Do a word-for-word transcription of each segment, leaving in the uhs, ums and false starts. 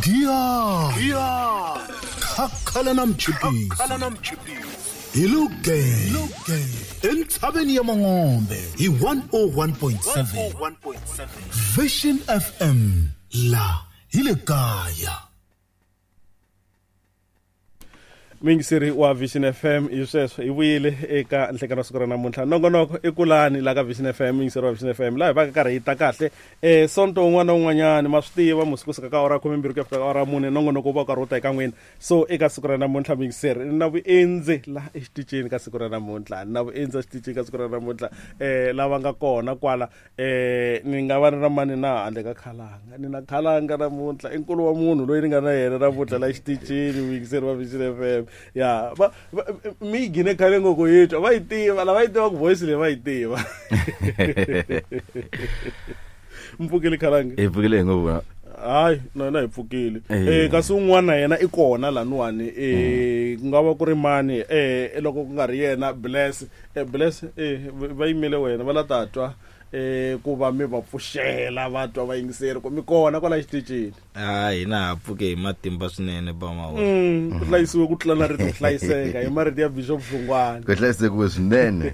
Dia Khakhala na mchipisi Hi luge Entshaveni ya Mangombe hi one oh one point seven Vision F M la hi le kaya. Mingiseri wa Vision F M hi sweswo hi vuyile eka nhlekano siku ra namuntlha nongonoko i kulani la ka Vision F M mingiseri wa Vision F M laha hi va ka karhi hi ta kahle eh sonto un'wana na un'wanyana ma swi tiva musi kusuka ka awara khume mbirhi ku ya fika ka awara mune nongonoko wu va karhi wu ta eka n'wina so eka siku ra namuntlha mingiseri na vuendzi laha exitichini ka siku ra namuntlha na vuendzi exitichini ka siku ra namuntlha eh lava nga kona kwala eh ni nga va ni ra mani na handle ka khalanga ni na khalanga namuntlha i nkulu wa munhu loyi ni nga na yena namuntlha la exitichini mingiseri wa Vision F M. Ya va mi gine khale ngoko yitwa va yi tiva lava yi tiva ku voice leyi va yi tiva. Mpfukile khalanga hi pfukile hi ngopfu. Hayi na na hi pfukile eh kasi un'wana yena i kona laniwani eh ku nga va ku ri mani eh loko ku nga ri yena Bless eh Bless eh va yimele wena va la ta twa eh ku va mi va pfuxela va twa va yingiseri ku mi kona kwala xitichini. Ah hina ha pfuke hi matimba swinene ba mawona. Mm ku hlayisiwe ku tlula na rito ku hlayiseka hi marito ya Bishop Hlungwani. Ku hlayiseke swinene.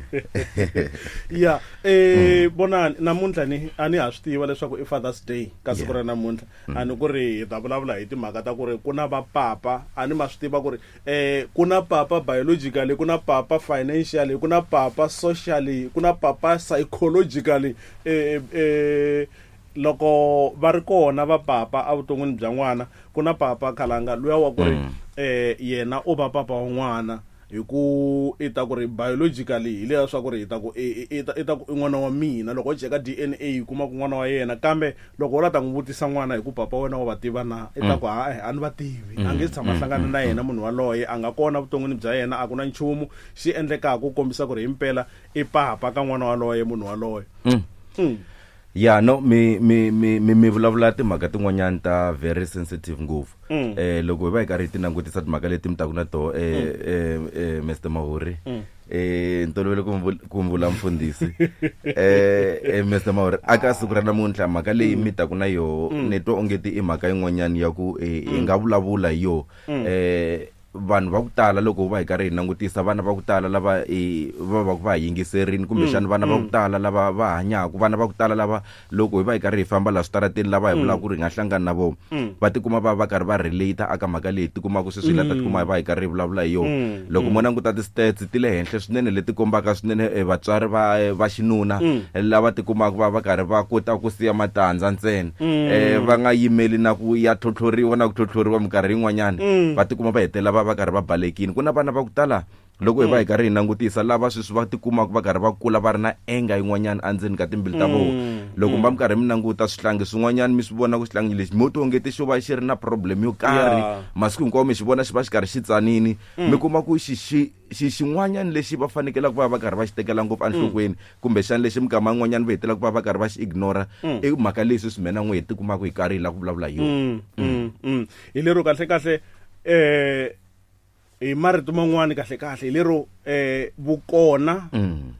Ya eh vonani namuntlha ni a ni ha swi tiva leswaku i Father's Day ka siku ra namuntlha a ni ku ri hi ta vulavula hi timhaka ta ku ri ku na va papa a ni ma swi tiva ku ri eh ku na papa biologically ku na papa financially ku na papa socially ku na papa psychologically eh eh loko va ri kona va papa evuton'wini bya n'wana ku na papa khalanga luya wa ku ri eh yena u va papa wa n'wana hi ku i ta ku ri biologically hi leya swa ku ri hi ta ku i ta i ta ku i n'wana wa mina loko u cheka D N A yi kuma ku n'wana wa yena kambe loko u la ta n'wi vutisa n'wana hi ku papa wena wa va tiva na i ta ku hayi a ni va tivi a nge tshama hlangana na yena munhu waloye a nga kona vuton'wini bya yena a ku na nchumu xi endlekaka ku kombisa ku ri himpela i papa ka n'wana waloye munhu waloye. Mm. Ya no mi mi mi mi vulavula timhaka tin'wanyana ta very sensitive ngopfu. Mm. Eh loko hi va hi karhi hi ti langutisa timhaka leti mi taku na toho eh eh, eh Mister Mahuri eh ntolovelo ku vula mfundhisi eh eh Mister Mahuri aka siku ra namuntlha mhaka leyi mi taku na yoho ni twa ongeti i mhaka yin'wanyana ya ku hi nga vulavula hi yoho eh vanhu va ku tala loko va hi karhi hi langutisa vana va ku tala lava va va va yingiserini kumbexana vana va ku tala lava va hanyaka vana va ku tala lava loko hi va hi karhi hi famba la switarateni lava hi vulaka ku ri hi nga hlangana na vona va tikuma va va karhi va relate aka mhaka leyi tikumaka sweswi la ta tikuma hi va hi karhi hi vulavula hi yona loko mo languta ti-stats ti le henhla swinene leti kombaka swinene vatswari va va xinuna lava tikumaka va va karhi va kota ku siya matandza ntsena eh va nga yimeli na ku ya tlhotlhoriwa na ku tlhotlhoriwa minkarhi yin'wanyana va tikuma va hetelela va va karhi va balekini ku na vana va ku tala loko hi va hi karhi hi langutisa lava sweswi va tikumaka va karhi va kula va ri na enga yin'wanyana endzeni ka timbilu ta vona loko va mi karhi mi languta swihlangi swin'wanyana mi swi vona ku xihlangi lexi mo tongeti xo va xi ri na problem yo karhi masiku hinkwawo mi xi vona xi va xi karhi xi tsanini mi kuma ku xi xi xi xin'wanyana lexi va fanekelaka va va karhi va xi tekela ngopfu enhlokweni kumbexana lexi mikama yin'wanyana va hetelaka va va karhi va xi ignora i mhaka leyi sweswi mina n'we hi tikumaka hi karhi hi lava ku vulavula hi yona. Hi lero kahle kahle eh hi marito man'wani kahle kahle hi lero eh vukona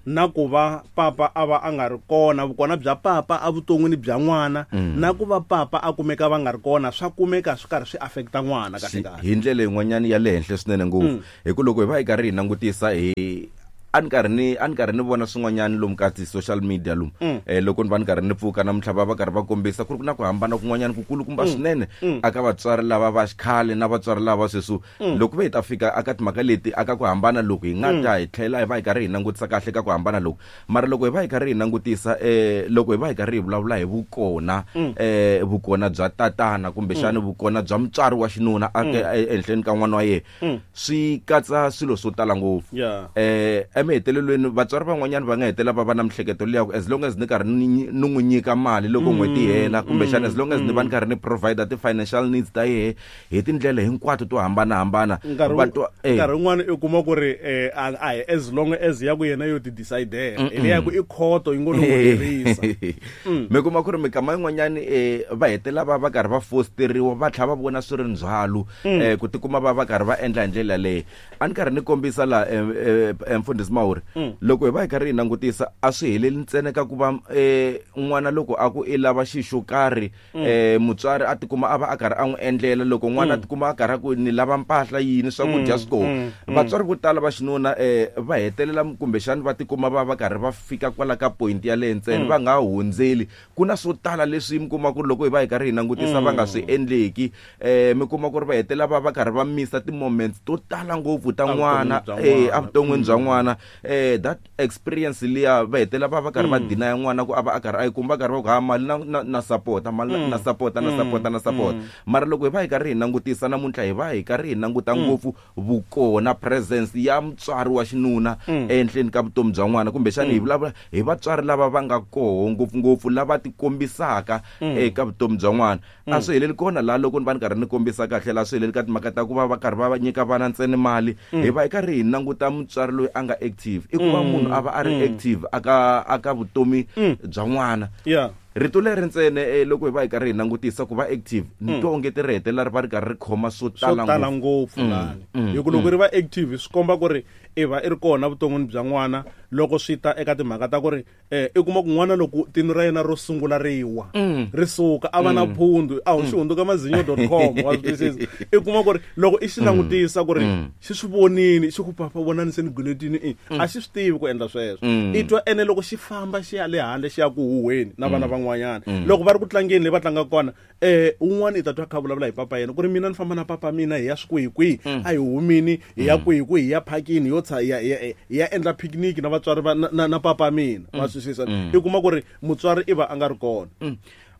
na ku va papa a va a nga ri kona vukona bya papa evuton'wini bya n'wana na ku va papa a kumeka va nga ri kona swa kumeka swi karhi swi affecta n'wana kahle kahle hi ndlela yin'wanyana ya le henhla swinene ngopfu hi ku loko hi va hi karhi hi langutisa hi a ni karhi ni a ni karhi ni vona swin'wanyana lomu ka ti-social media lomu eh loko ni va ni karhi ni pfuka namuntlha va va karhi va kombisa ku ri na ku hambana kun'wanyana kukulukumba swinene aka vatswari lava va xikhale na vatswari lava sweswi loko va hi ta fika aka timhaka leti aka ku hambana loko hi nga ta hi tlhela hi va hi karhi hi langutisa kahle ka ku hambana loko mara loko hi va hi karhi hi langutisa eh loko hi va hi karhi hi vulavula hi vukona eh vukona bya tatana kumbexana vukona bya mutswari wa xinuna aka ehenhleni ka n'wana wa yena swi katsa swilo swo tala ngopfu eh emahetelelweni vatswari van'wanyana va nga hetela va va na mihleketo leya ku as long as ni karhi ni n'wi nyika mali loko n'hweti yi hela kumbexana as long as ni va ni karhi ni provide ti-financial needs ta yehe hi tindlela hinkwato to hambanahambana nkarhi wun'wana u kuma ku ri a hi as long as ya ku yena yo ti decidela hi leya ku i khoto yi ngo no n'wi herisa mi kuma ku ri mikama yin'wanyani va hetela va va karhi va fosteriwa va tlhela va vona swi ri ndzhwalo ku tikuma va va karhi va endla hi ndlela leyi a ni karhi ni kombisa la mfundhisi Mahuri loko hi va hi karhi hi langutisa a swi heleli ntsena ka ku va eh n'wana loko a ku i lava xi xo karhi eh mutswari a tikuma a va a karhi a n'wi endlela loko n'wana a tikuma a karhi a ku ni lava mpahla yini swakudya swi kona vatswari vo tala va xinuna eh va hetelela kumbexani va tikuma va va karhi va fika kwala ka point ya le ntsena va nga hundzeli ku na swo tala leswi mi kuma ku ri loko hi va hi karhi hi langutisa va nga swi endleki eh mi kuma ku ri va hetelela va va karhi va misa ti-moments to tala ngopfu ta n'wana eh evuton'wini bya n'wana eh that experience liya va hetelela va va karhi va deny n'wana ku a va a karhi a yi kuma va karhi va ku ha mali na na, na support mali na, na support na support na support mara loko hi va hi karhi hi langutisa namuntlha hi va hi karhi hi languta ngopfu vukona presence ya mutswari wa xinuna ehenhleni ka vutomi bya n'wana kumbexani hi vulavula hi vatswari lava va nga koho ngopfungopfu lava tikombisaka eka vutomi bya n'wana a swi heleli kona laha loko ni va ni karhi ni kombisa kahle laha swi heleli ka timhaka ta ku va va karhi va va nyika vana ntsena mali hi va hi karhi hi languta mutswari loyi a nga active i ku va munhu a va a ri active aka aka vutomi bya n'wana yeah rito leri ntsena eh, loko hi va hi karhi hi langutisa ku va active ni twa onge ti ri hetelela ri va ri karhi ri khoma swo swo tala tala ngopfu ngopfu lani hi ku loko ri va active swi komba ku ri i va i ri kona vuton'wini bya n'wana loko swi ta eka timhaka ta ku ri eh i kuma ku n'wana loko tino ra yena ro sungula ri wa ri suka a va na phundu a xi hundzuka mazinyo dot com wa swi twisisa i kuma ku ri loko i xi langutisa ku ri xi swi vonini xi ku papa vonani se ni guletini i a xi swi tivi ku endla sweswo i twa ene loko xi famba xi ya le handle xi ya ku huhweni na vana van'wanyana loko va ri ku tlangeni leyi va tlangaka kona eh un'wana i ta twa kha vulavula hi papa yena ku ri mina ni famba na papa mina hi ya swi kwihi kwihi a hi humini hi ya kwihi kwihi hi ya phakini yo tsha hi ya hi ya hi ya endla picnic na vatswari va na, na, na papa mina wa swi twisisa i kuma ku ri mutswari i va a nga ri kona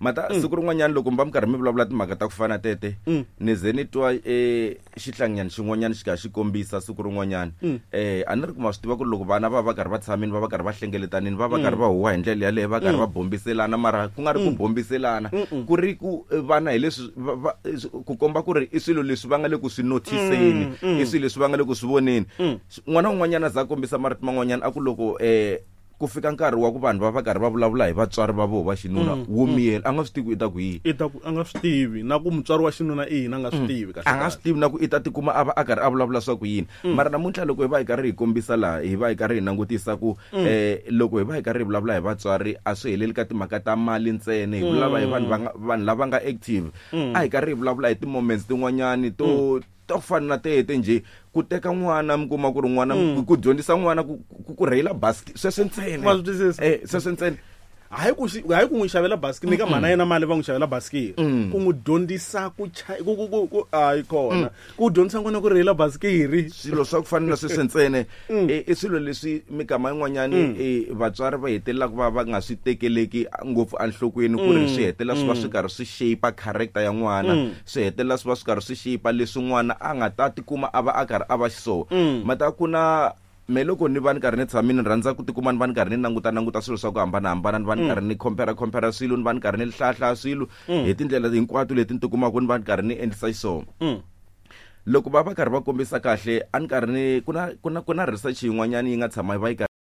mata siku rin'wanyana loko mi va mi karhi mi vulavula timhaka ta ku fana tete ni ze ni twa eh xihlanganyana xin'wanyana xi karhi xi kombisa siku rin'wanyana eh a ni ri ku ma swi tiva ku ri loko vana va va karhi va tshamini va va karhi va hlengeletanini va va karhi va huwa hi ndlela yaleyo va karhi va bombiselana mara ku nga ri ku bombiselana ku ri ku eh, vana hi leswi va- va- ku komba ku ri i swilo leswi va nga le ku swi notiseni i swilo leswi va nga le ku swi voneni n'wana un'wanyana a za a kombisa marito man'wanyana a ku loko eh ku fika nkarhi wa ku vanhu va va karhi va vulavula hi vatswari va voho va xinuna wo miyela a nga swi tivi ku i ta ku yini i ta ku a nga swi tivi na ku mutswari wa xinuna i yini a nga swi tivi kahle a nga swi tivi na ku i ta tikuma a va a karhi a vulavula swa ku yini mara namuntlha loko hi va hi karhi hi kombisa laha hi va hi karhi hi langutisa ku eh loko hi va hi karhi hi vulavula hi vatswari a swi heleli ka timhaka ta mali ntsena hi vulavula hi vanhu va nga vanhu lava nga active a hi karhi hi vulavula hi ti-moments tin'wanyani to to fana na tete njhe ku teka n'wana mi kuma ku ri n'wana ku dyondzisa n'wana ku ku- ku rheyila basket sweswo ntsena Wa swi twisisa? eh sweswo ntsena hayi ku xi- hayi ku n'wi xavela basikiri nyika mhana yena mali va n'wi xavela basikiri ku n'wi dyondzisa ku cha ku ku ku ku hayi kona ku dyondzisa n'wana ku rheyila basikiri swilo swa ku fana na sweswo ntsena i i swilo leswi mikama yin'wanyani eh, vatswari va hetelelaka va va nga swi tekeleki ngopfu enhlokweni ku ri swi hetelela swi va swi karhi swi shape character ya n'wana swi hetelela swi va swi karhi swi shape leswi n'wana a nga ta tikuma a va a karhi a va xiswona mata ku na me loko ni va ni karhi ni tshamini ni rhandza ku tikuma ni va ni karhi ni languta languta swilo swa ku hambanahambana ni va ni karhi ni compare compare swilo ni va ni karhi ni hlahlaya swilo hi tindlela hinkwato leti ni tikumaka ni va ni karhi ni endlisa xiswona loko va va karhi va kombisa kahle a ni karhi ni ku na ku na ku na research yin'wanyana yi nga tshama yi va yi karhi